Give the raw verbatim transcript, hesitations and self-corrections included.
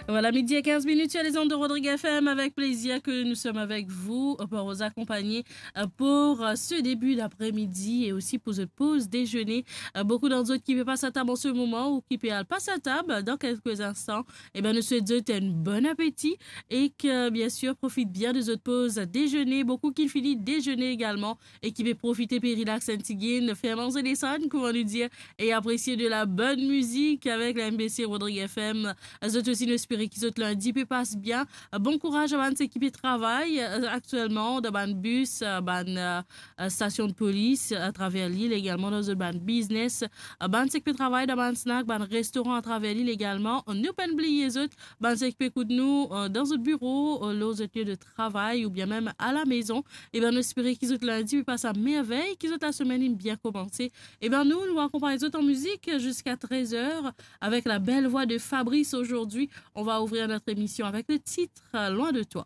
Voilà, midi et quinze minutes sur les ondes de Rodrigue F M. Avec plaisir que nous sommes avec vous, euh, pour vous accompagner, euh, pour, euh, ce début d'après-midi et aussi pour votre pause déjeuner. Euh, beaucoup d'entre vous qui peut passer à table en ce moment ou qui peut aller passer à table dans quelques instants, eh ben, nous souhaitons un bon appétit et que, bien sûr, profite bien de votre pause déjeuner. Beaucoup qui finit déjeuner également e ki pe profite pe relax enn tigit, fer manze lesann, kouma nou dir, e apresie de la bonne musique avec la M B C Rodrigue F M. Zot osi, nou espere ki zot lindi pe pas bien. Bon kouraz a bann seki pe travay, euh, aktielman dan bann bis, euh, bann, euh, euh, stasion de polis atraver lil, egalman dan zot bann biznes, euh, bann seki pe travay dan bann snack, bann restoran atraver lil egalman. Nou pa'nn bliye zot, bann seki pe ekout nou, euh, dan zot biro, euh, lor zot lie de travay oubien mem a la mezon. Eben, nou espere ki zot lindi pe pas a mervey, ki zot lasemenn inn bien koumanse. Eben, nou, nou akonpagn zot an mizik ziska trez er avek la belle voix de Fabrice. Aujourd'hui, on va ouvrir notre émission avec le titre, euh, Loin de toi.